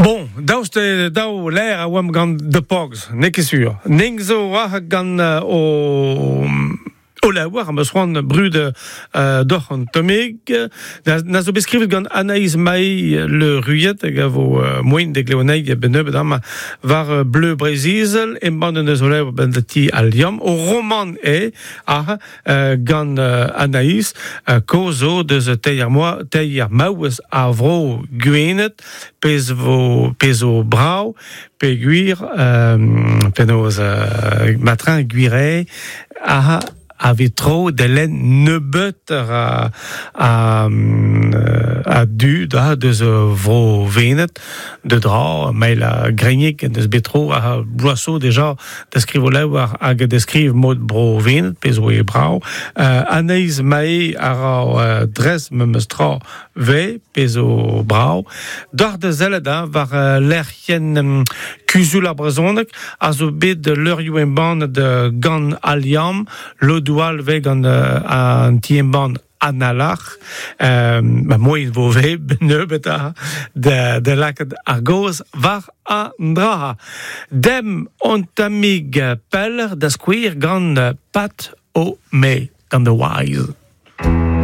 Bon, daoust eo dav lâr a oamp gant The Pogs, n'eo ket sur. Ning zo war gant o o labour am eus c'hoant brud doc'h an tammig. Na zo bet skrivet gant Anaïs Maï Le Ruyet hag a vo moaien da glev anezhi a-benn nebeut amañ war Bleu Breizh-Izel. Embann en deus o levr benn da ti Al Liamm. O romant eo ah, gant Anaïs kaoz zo deus teir moa teir maouez a vro Gwened pezh vo pezh zo brav peogwir penaos matreñ gwir eo ah a vez tro da lenn nebeut a, a, a dud ah, deus vro Wened de dra mail a Greignic en deus bet tro a bloaz zo deja da skriv o levr hag da skriv mod bro Vened, pezh zo eo brav. Anaïs Mae a ra dres memes tra ve, pezh zo brav. Doc'h da sellet hein, war lec'hienn Kuzul ar Brezhoneg a zo bet leurioù embannet gant Al Liamm, lodoù all vez gant an ti-embann An alarc'h, ma moaien vo ve nebeut da, da lakaat ar gaoz war an dra. Demp on tammig peller da skouer gant Pat O'May, gant The Wise.